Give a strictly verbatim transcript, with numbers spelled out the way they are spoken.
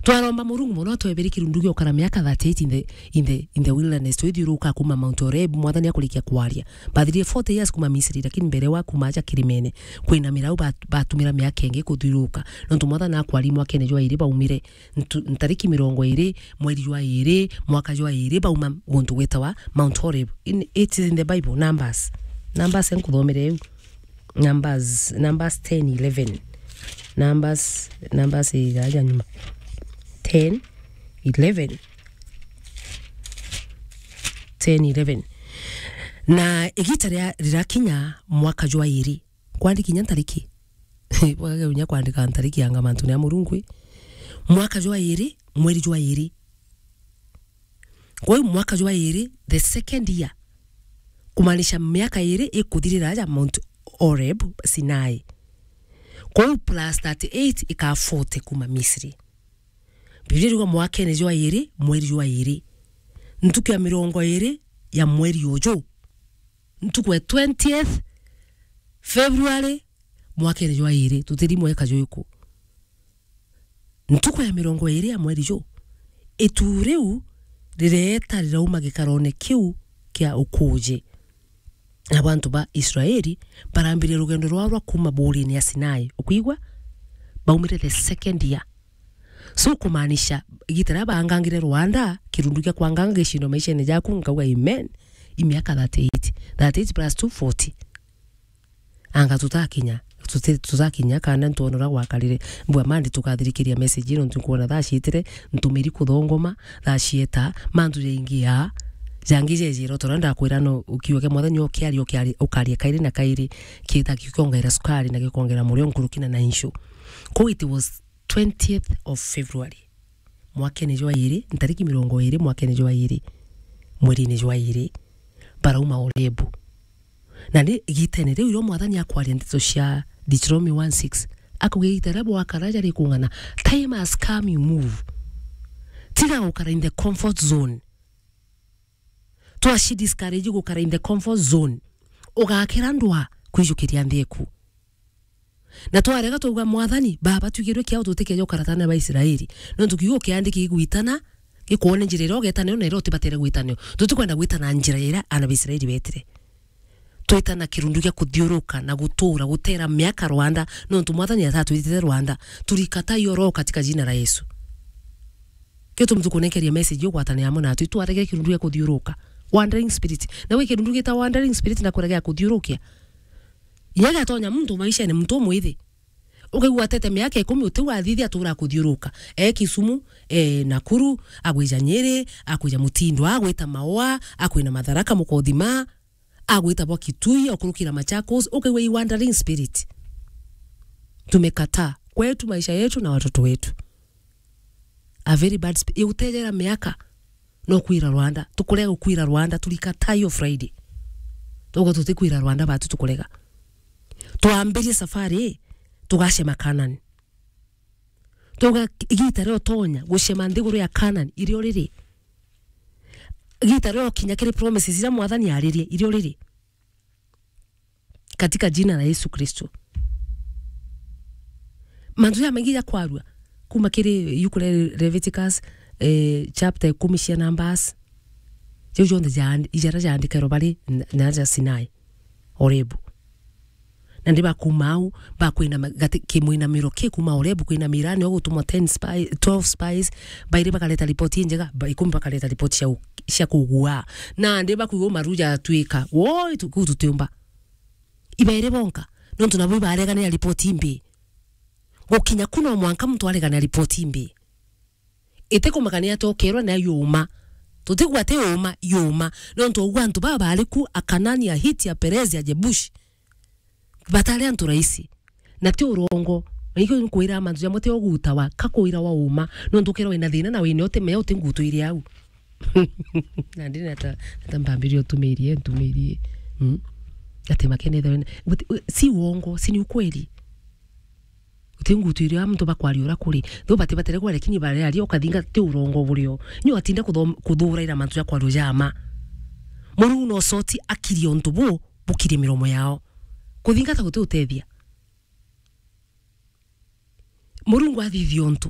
Twaromba Murungu mono atwebere kirundu gia ukara miaka thirty-eight in the, in the, in the wilderness, twithiuruka kuma Mount Horeb, Mwathani akurikia kwaria. Bathirire forty years kuma Misri, lakini mbere wa kuma aja kirimene, kwina mirau bat-, batumira miaka ingi kuthiuruka. Nontu Mwathani akwari mwakene jwa iri baumire, ntu-, ntariki mirongo iri, mweri jwa iri, mwaka jwa iri, bauma guntu gwitawa Mount Horeb. In, it is in the Bible, Numbers. Numbers, nkuthomere iu. Numbers, Numbers ten eleven. Numbers, Numbers igaja nyuma. Ten eleven. Ten eleven. Na igita ria-, rirakinya mwaka jwa iri. Kwandi kinya ntariki. Bwage unya kwandika ntariki anga mantu ni a Murungu i. Mwaka jwa iri, mweri jwa iri. Kwa hiyo mwaka jwa iri, the second year, kumaanisha miaka iri ikuthirira aja Mount Horeb, Sinai. Kwa hiyo plus thirty-eight ikaa forty kuma Misri. Biblia iriuga mwakene jwa iri, mweri jwa iri, ntuku ya mirongo iri ya mweri uju, ntuku ya twentieth February, mwakene jwa iri, tutiri mweka jwiku. Ntuku ya mirongo iri ya mweri ju, itu riu rireeta rirauma gikarone kiu kia ukuji. Nabo antu ba Israeli barambiririe rugendo rwao rwa kuuma buurine ya Sinai. Ukwigua? Baumire the second year. So, kumaanisha, igita riria baangangire rwanda, kirundu kia kwanganga gicindwa maishene jaku, nkauga, "Amen." I miaka thirty-eight. Thirty-eight plus two, forty. Anga tutakinya, tuti-, tutakinya kana ntwona uria gwakarire. Mbua mandi tukathirikiria message ino, nontu nkwona thaa ciitire, ntumiri kuthongoma, thaa cieta, mantu jaingi ya, jangi jejire, o ta uria ndakwira no, kiugo kia Mwathani ukiaria, ukiaria, ukaria kairi na kairi, kiita kiongeera sukari na gikongera murio nkuruki na, na inshu. Kou it was twentieth of February, mwakene jwa iri, ntariki mirongo iri, mwakene jwa iri, mwerine jwa iri, barauma Orebu. Na ni igitene riu irio Mwathani akwaria ndeto cia Deuteronomy one six, akuga igita riria bwakara jari kung'ana, time has come, you move. Tiga gukara in the comfort zone. Twaci discourage gukara in the comfort zone. Ugakira ndwa kwijukiria nthi eku. Na twarega twauga, "Mwathani, Baba, twigirwe kiao tutikeja ukara ta aana ba Israeli." Nontu kiugo kiandiki gigwitana, gikwone njira iria ugeeta nayo na iria utibatere gwita nayo. Tutikwenda gwita na njira iria aana ba Israeli beetire. Twita na kirundu gia kuthiuruka na gutuura, guteera miaka rwanda, nontu Mwathani atatwitite rwanda. Tulikataa hiyo roho katika jina la Yesu. Kio tumi tukunenkeria message ugwatane amwe natwi, twarege kirundu gia kuthiuruka. Wandering spirit. Na wi kirundu gita wandering spirit na kuregea kuthiurukia. Inya giatonya muntu maishene, muntu umwithi. Ukaigua atete miaka ikumi utiu athithia atura kuthiuruka. E Kisumu, e Nakuru, agwija Nyeri, akwija Mutindwa, agwita Maua, akwina Matharaka, Mukothima, agwita bwa Kitui, okurukira Machakos, ukaigua i wandering spirit. Tumekataa kwetu, maisha yetu na watoto wetu. A very bad sp-, igutejera miaka. No kwira rwanda, tukurega gukwira rwanda, tulikataa hiyo Friday. Tuga tutikwira rwanda batu tukurega. Twambirie safari, tugacema Canaan. Tuga igita rio tonya gucema nthiguru ya Canaan, irio riri. Igita rio kinya kiri promises iria Mwathani aririe, irio riri. Katika jina la Yesu Kristo. Mantu jamaingi jakwarua kuma kiri ibuku ria Leviticus, eh, chapter ikumi cia Numbers. Jau jonthe ja-, ijara jaandikairwe bari na, na ja Sinai, Orebu. Na ndi bakuma au, bakwina ma-, gati-, kimwinamiro ki kuma Orebu kwinamira, nio gutumwa ten spy-, twelve spies, bairi bakareta ripoti injega, ba-, ikumi bakareta ripoti cia u-, cia kugua. Nandi bakuigua maru jatwika, woi, tu-, kuu tutiumba. Ibairi bonka, nontu nabo ibareganira ripoti imbi. Gukinya ku no mwanka muntu areganira ripoti imbi. Itikumakania ati okerwa nayo yuma. Tutigua ati yuma, yuma. Nontu ugua antu baba bari ku, Akanani, Ahiti, Aperezi, Ajebushi. Batari antu raisi. Na ti urongo. Na ikio nkwira mantu jamwe ti ogutawa, kakwira wa uma. Nontu ukirwa wina thina na wina utimea uti ngutu iri au. Na ndiri nata, nata mbambirie utumirie, ntumirie. Mm. Ati makenethe wena. But, uh, si uongo, si ni ukweli. Uti ngutu iri au muntu bakwaria ura kuri. Tho bati batere kwa, lakini baria ari ukathinga ti urongo burio. Nyo atinda kuthom-, kuthuraira mantu ya kwario jama. Murungu no soti akirie untu bu, bukirie miromo yao. Kuthingata guti utethia. Murungu athithia untu.